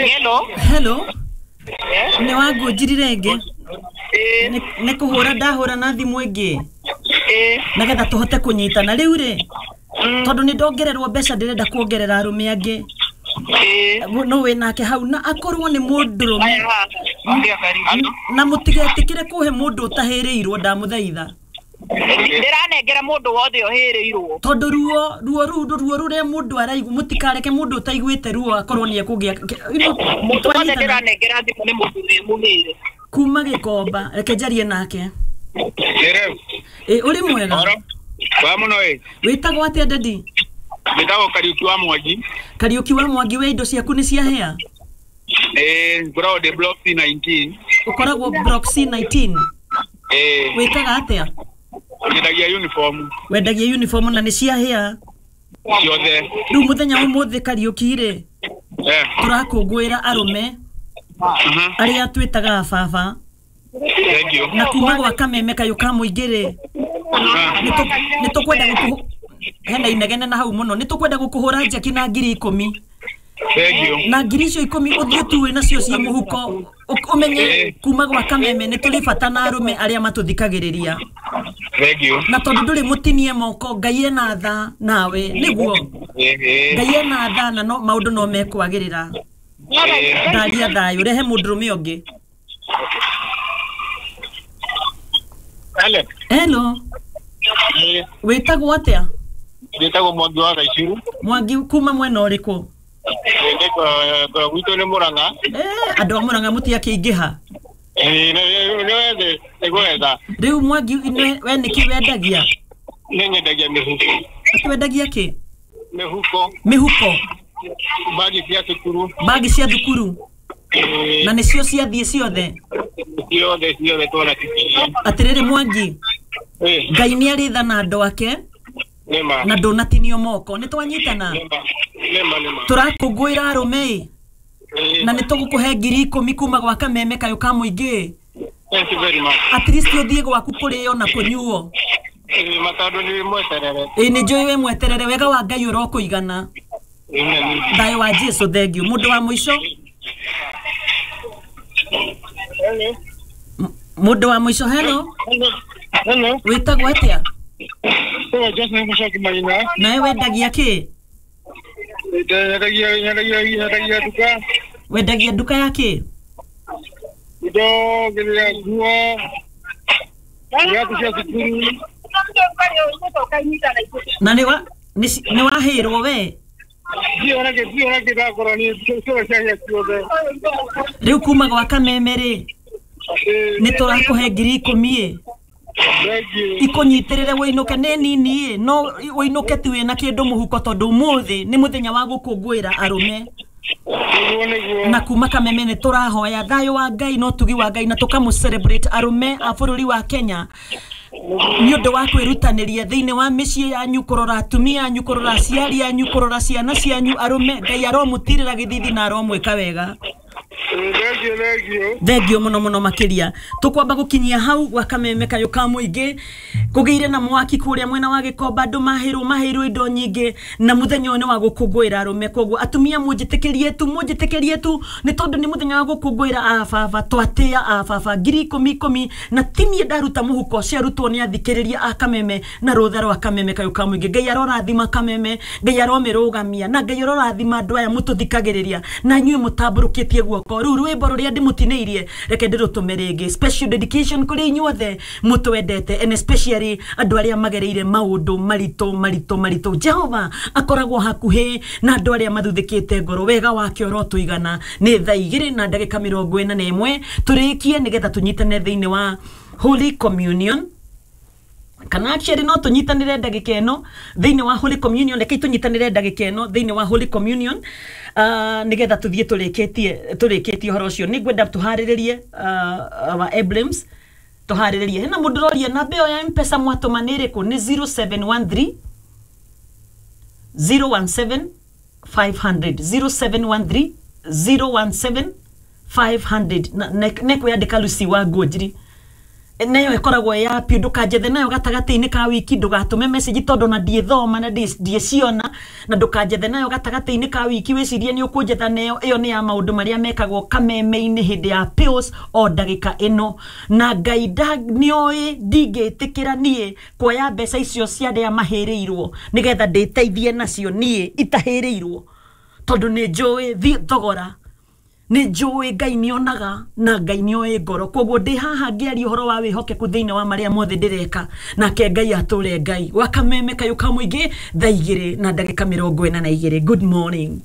Hello. Hello. Nĩ wangũnjiri rĩngĩ? Nĩ kũhũra ndahũra na thimũ ĩngĩ nĩgetha tũhote kũnyitana rĩu rĩ, tondũ nĩ ndongererwo mbeca, ndĩrenda kuongerera arũme angĩ. No wĩ nake hau na akorwo nĩ mũndũrũme, na mũtigetĩkĩre kũhe mũndũ ũtahĩrĩirwo, ndamũthaitha. Ndĩranengera mũndũ wothe ũhĩrĩirwo, tondũ ruo ruo rũu ruo rũrĩa mũndũ araigua, mũtikareke mũndũ ũtaiguĩte ruo akorwo nĩ ekũgĩa. Mũndũ wothe ndĩranengera thimũ nĩ mũndũ wĩ mũhĩre. Kuma Gĩkomba, reke njarie nake. Ĩ ũrĩ mwega? Wa mũno ĩ. Wĩtagwo atĩa, daddy? Njĩtagwo Kariũki wa Mwangi. Kariũki wa Mwangi, we indo ciaku nĩ ciahĩa? Ĩ, ngoragwo ndĩ block C19. Ũkoragwo block C19? Ĩ. Wĩkaga atĩa? Nyendagia uniform. Wendagia uniform na nĩ ciahĩa? Ciothe. Rĩu mũthenya wa ũmũthĩ, Kariũki rĩ, tũrakũngũĩra arũme arĩa twĩtaga baba. Thank you. Na kuma gwa kameme kayũ ka mũingĩ rĩ, nĩ tũkwenda gũkũ hena inegene na hau mũno, nĩ tũkwenda gũkũhũra njeki na 10,000. Thank you. Na 10,000 icio ũthiĩ tuĩ nacio ciĩ mũhuko, ũmenye kuma gwa kameme nĩ tũrĩ bata na arũme arĩa matũthikagĩrĩria. Thank you. Na tondũ ndũrĩ mũtinie moko, Ngai ena tha nawe, nĩguo Ngai ena tha na no maũndũ no mekwagĩrĩra. Ndaria thayũ, rehe mũndũrũme ũngĩ. Hello. Hello. Wĩtagwo atĩa? Njĩtagwo Mwangi wa Gaicuru. Mwangi kuma mwena ũrĩkũ? Gwitũ nĩ Mũrang'a. Andũ a Mũrang'a mũtiakĩingĩha. Nĩ gwetha. Rĩu Mwangi, we nĩkĩ wendagia? Nĩ nyendagia mĩhuko. Atĩ wendagia kĩ? Mĩhuko. Mĩhuko. Bagi cia thukuru. Bagi cia thukuru. Na nĩcio ciathiĩ ciothe? Ciothe ciothe twona cikinya. Atĩrĩrĩ Mwangi, Ngai nĩ arĩ tha na andũ ake na ndũnatinio moko, nĩ twanyitana? Tũrakũngũĩra arũme ĩ, na nĩ tũgũkũhe 10,000 kuma gwa kameme kayũ ka mũingĩ. Thank you very much. At least ũthiĩ gwaku kũrĩo na kũnyuo. Matondũ nĩ mweterere. Ĩ, nĩ njũĩ wĩ mweterere, wega wa Ngai ũrokũigana. Thayũ wa Jesu. Thank you. Mũndũ wa mũico. Mũndũ wa mũico, hello. Hello. Wĩtagwo atĩa? Joseph Mũcoki Maina. Nawe wendagia kĩ? Nyendagia nduka. Wendagia nduka ya kĩ? Indo kĩrĩa, nguo, iratũ cia thukuru. Na nĩ wahĩrwo we? Ndiona ndakorwo nĩ ciothe ciahĩa ciothe. Rĩu kuma gwa kameme rĩ, nĩ tũrakũhe 10,000 ĩ, ikũnyitĩrĩre wĩinũke, nĩ nini ĩ, no wĩinũke tu wĩna kĩndũ mũhuko, tondũ ũmũthĩ nĩ mũthenya wa gũkũngũĩra arũme. Na kuma kameme nĩ tũrahoya thayũ wa Ngai na ũtugi wa Ngai, na tũkamũ celebrate arũme a bũrũri wa Kenya nĩ ũndũ wa kwĩrutanĩria thĩinĩ wa mĩciĩ yanyu, kũrora atumia anyu, kũrora aciari anyu, kũrora ciana cianyu. Arũme, Ngai aromũtirĩra gĩthithi na aromwĩka wega. Thank you. Thengio mũno mũno makĩria. Tũkwamba gũkinyia hau gwa kameme kayũ ka mũingĩ. Kũgĩire na mwaki kũrĩa mwena wa Gĩkomba, andũ mahĩrwo indo nyingĩ, na mũthenya ũyũ nĩ wa gũkũngũĩra arũme. Koguo atumia, mũnjĩtĩkĩrie tu, mũnjĩtĩkĩrie tu, nĩ tondũ nĩ mũthenya wa gũkũngũĩra ababa, twatĩa ababa 10,000 10,000, na tinie ndaruta mũhuko, ciarutwo nĩ athikĩrĩria a kameme na rũtha rwa kameme kayũ ka mũingĩ. Ngai arorathima kameme, Ngai aromĩrũgamia, na Ngai arorathima andũ aya mũtũthikagĩrĩria na inyuĩ mũtambũrũkĩtie guoko. Rĩu rwĩmbo rũrĩa ndĩmũtinĩirie, reke ndĩrũtũme rĩngĩ, special dedication kũrĩ inyuothe mũtwendete, and especially andũ arĩa magereire maũndũ maritũ maritũ maritũ. Jehova akoragwo hakuhĩ na andũ arĩa mathuthĩkĩte ngoro, wega wake ũrotũigana. Nĩ thaa 2:41, tũrĩkie nĩgetha tũnyitane thĩinĩ wa Holy Communion, kana actually no tũnyitanĩre ndagĩka ĩno thĩinĩ wa Holy Communion. Rekei tũnyitanĩre ndagĩka ĩno thĩinĩ wa Holy Communion, nĩgetha tũthiĩ tũrĩkĩtie ũhoro ũcio. Nĩ ngwenda tũharĩrĩrie our emblems, tũharĩrĩrie. Hena mũndũ ũroria namba ĩyo ya Mpesa mwatũma nĩ ĩrĩkũ. Nĩ 0713 017 500, 0713 017 500, na nekwĩandĩka Lucy wa Ngũnjiri. Nayo ĩkoragwo ya piũ, ndũkanjethe nayo gatagatĩ-inĩ ka wiki, ndũgatũme message tondũ na ndiĩthoma na ndiĩciona, na ndũkanjethe nayo gatagatĩ-inĩ ka wiki wĩcirie nĩ ũkũnjetha nayo. Ĩyo nĩ ya maũndũ marĩa mekagwo kameme-inĩ hĩndĩ ya pills o ndagĩka ĩno. Na Ngai nĩoĩ ndingĩtĩkĩra niĩ kuoya mbeca icio cia arĩa mahĩrĩirwo nĩgetha ndĩteithie nacio niĩ itahĩrĩirwo, tondũ nĩ njũĩ thogora, nĩ njũĩ Ngai nĩonaga na Ngai nĩoĩ ngoro. Koguo ndĩ haha ngĩaria ũhoro wa wĩhokeku thĩinĩ wa marĩa mothe ndĩreka, nake Ngai atũre Ngai. Gwa kameme kayũ ka mũingĩ, thaa 2:42. Good morning.